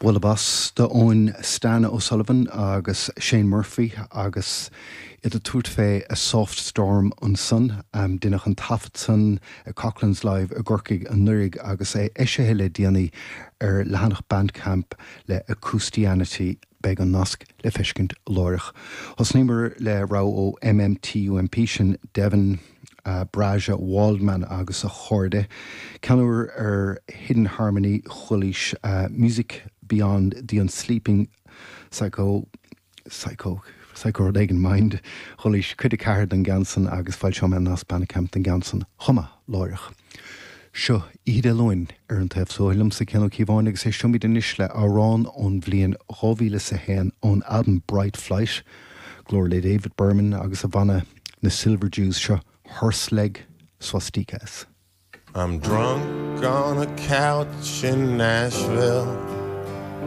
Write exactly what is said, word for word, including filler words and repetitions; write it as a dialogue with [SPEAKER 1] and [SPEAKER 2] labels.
[SPEAKER 1] Bualadh bos d'fhóin Stan O'Sullivan agus Shane Murphy agus iad ag tabhairt fé A Soft Storm ansan. Um, Deineadh an taifead san ag Coughlan's Live i gCorcaigh anuraidh agus é eisithe le déanaí ar leathanach Bandcamp le Acoustianity beidh an nasc le feiscint láithreach. Thosnaíomar le rogha ó MMTUMP sin Devin uh, Brahja Waldman agus a chairde. Ceann úr ar Hidden Harmony Chuilís uh, Music Beyond the Unsleeping Psycho Psycho Psycho rud éigin Mind Chuilís cuid a ceathair den gceann san agus foilseoidh mé nasc Bandcamp den gceann san chomh maith láithreach. Seo Oíche Dé Luain ar an taobh so liomsa Cian Ó Cíobháin agus éistfimid anois le amhrán ón bhliain dhá mhíle is a haon ón album Bright Flight, glór le David Berman agus a bhanna na Silver Jews seo Horse Leg Swastikas.
[SPEAKER 2] I'm drunk on a couch in Nashville.